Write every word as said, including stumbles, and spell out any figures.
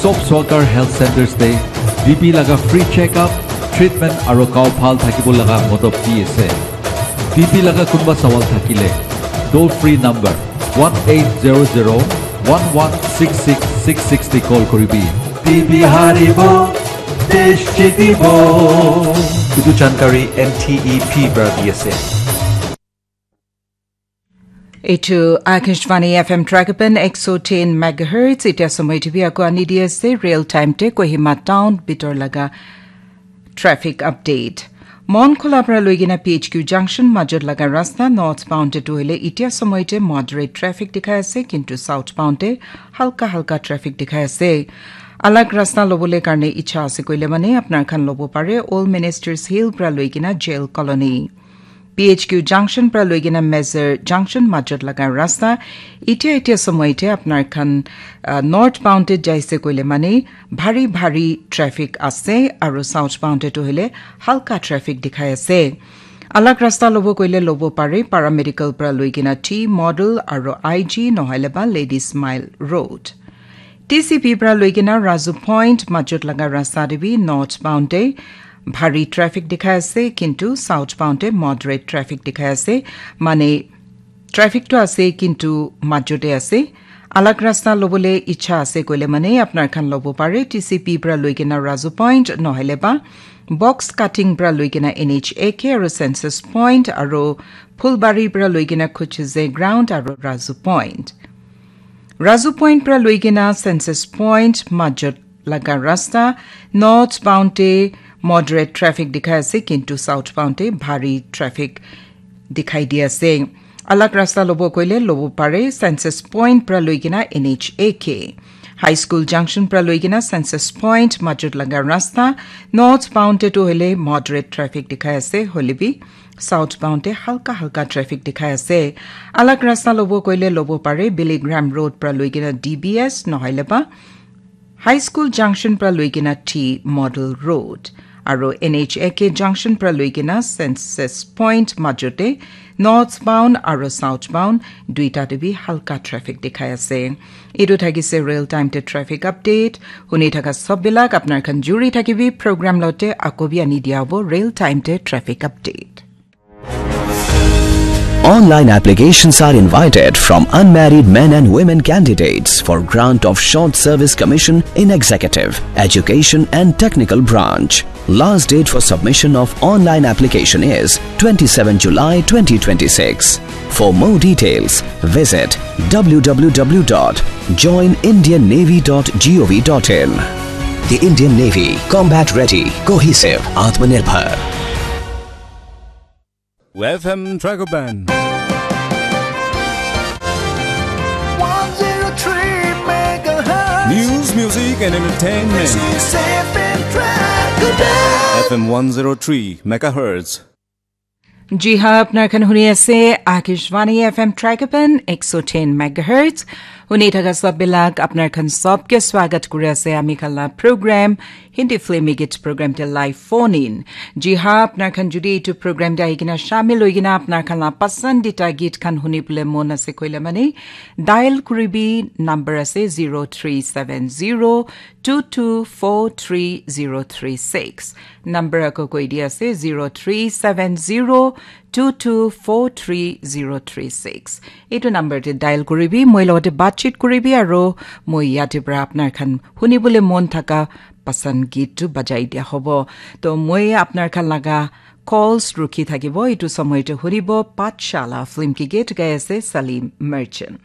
Sob Swakar Health Centers te B P laga free check-up, treatment aru gao bhal thakibo laga modop di ase. B P laga kunba sawal thakile, toll free number one eight zero zero one one six six six six te call kuribi. B P haribo, desh jitibo. Etu jankari N T E P para di ase. Etu Akashvani F M Tragapan ek so ten megahertz, itya somoy T V ako ani di ase, real time te Kohima town bitor laga traffic update. Mon Khola pra loigena P H Q junction majot laga rasta northbound te tu hoile itya somoy te moderate traffic dikhai ase, kintu southbound te halka halka traffic dikhai ase. Alag rasta lobole karne icha ase koile mane apnar khan lobo pare Old Ministers Hill pra loigena Jail Colony. P H Q junction pra loigena Mezar junction majot laga rasta itya itya somoy te apnar khan, ah, northbound te jaise koile mane bhari bhari traffic ase aru southbound te tu hoile halka traffic dikhai ase. Alag rasta lobo koile lobo pare Paramedical pra loigena T Model aru I G nohoile ba Ladies Mile Road. T C P pra loigena Razu Point majot laga rasta te bi northbound te bhari traffic dikhai ase, kintu southbound te moderate traffic dikhai ase. Mane traffic to ase, kintu majot te ase. Alag rasta lobole icha ase koile mane apnar khan lobo pare T C P pra loigena Razu Point nohoile ba Box Cutting pra loigena N H A K aru Census Point aru Phulbari pra loigena Khucheze Ground aru Razu Point. Razu Point pra loigena Census Point majot laga rasta northbound te moderate traffic dikhai ase, kintu southbound te bhari traffic dikhai di ase. Alag rasta lobo koile lobo pare Census Point pra loigena N H A K. High School Junction pra loigena Census Point majot laga rasta northbound te tu hoile moderate traffic dikhai ase, hoile bi southbound te halka halka traffic dikhai ase. Alag rasta lobo koile lobo pare Billy Graham Road pra loigena D B S nohoile ba High School Junction pra loigena T Model Road aru N H A K Junction pra loigena Census Point majot te northbound aru southbound duita te bi halka traffic dikhai ase. Etu thakise real time te traffic update. Huni thaka sob bilak apnar khan juri thakibi program lote ako bi ani dia hobo real time te traffic update. Online applications are invited from unmarried men and women candidates for grant of Short Service Commission in Executive, Education and Technical Branch. Last date for submission of online application is twenty-seven July twenty twenty-six. For more details, visit w w w dot join indian navy dot gov dot in. The Indian Navy, combat ready, cohesive, Atmanirbhar. F M Dragoban. One zero three megahertz. News, music, and entertainment. This is F M Dragoban. F M one zero three megahertz. Ji ha, apnar khan huni ase Akashvani F M Dragoban ek so ten megahertz. Huni thaka sob bilak apnar khan sob ke swagat kuri ase ami khan la program Hindi Filmi Geet program te live phone in. Ji ha, apnar khan judi etu program te ahi kena shamil hoi kena apnar khan la pasandita geet khan huni bole mon ase koile mane dial kuribi, number ase zero three seven zero two two four three zero three six. Number ako koi di ase zero three seven zero two two four three zero three six. Etu number te dial kuribi, moi logote batchit kuribi aru moi yate pra apnar khan huni bole mon thaka pasand geet tu bajai dia hobo. To moi apnar khan laga calls rukhi thakibo. Etu somoy te hunibo Pathshala film ke geet gai ase Salim Merchant.